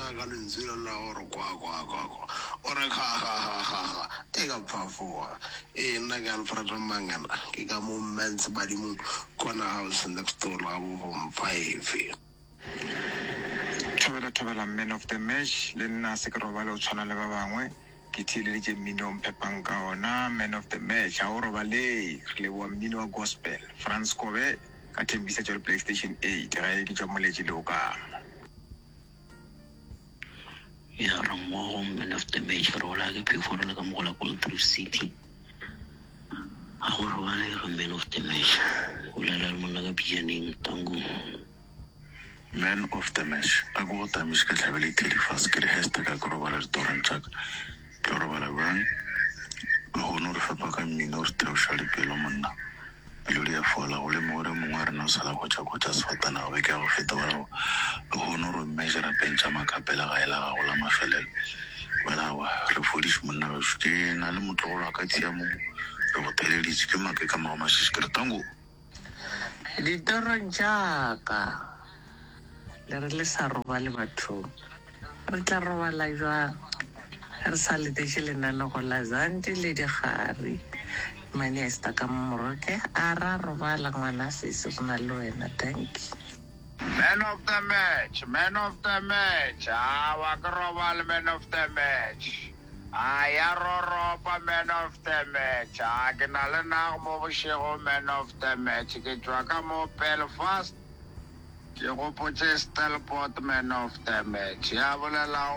tsaya ka lentswe le la gore kwa kwa kwa kwa o re kha kha kha kha kha e ka phafoga. Ee nna ke Alfred Mangena ke ka mo Mans Badimong Corner House next door la bo Bomfaefe. Thobela thobela man of the match le nna se ke robale o tshwana le ba bangwe ke theeleditše mmino o mphepang ka ona man of the match ga o robalee re leboga mmino wa gospel Frans Kobe ka Thembisa tšwa le Playstation 8 gae ke tšwa Moletši Leokamo. Ya re mmogo man of the match re bolaya ke phefo re le ka mo go la Gold City. Ga go robalege man of the match. O bolela le monna ka pijaneng tango. Man of the match a ke go tamiše ke hlabele ithedi fase ke re hashtag a ke robala ditorong tša ka ke tlo robala bjang lehono re fepa ka mmino re theoša dipelo monna pelo di a fola go le mogore mongwe a rena o sala kotša-kotša sefatanaga beke ya go feta ba re lehono re measure pentša makapela gae la gago la mafelelo wela awa re fodiše monna gešo ke na le motlogolo wa ka tshiamo re go theleditše ke make ka morago mašiši ke re tango Ditorong tša ka, le re le sa robale bathong. Re tla robala bjang re sa letetše lenanego la Zandi le Dikgari? Mane Esther ka mo Moroke a ra robala ngwana sesi go na le wena. Dankie. Man of the match, man of the match, awa ke robale man of the match. A ya roropa man of the match. A ke na le nago mo bošego man of the match. Ke tšwa ka mo Belfast. Ke gopotše Stelport man of the match. Ya bolelago.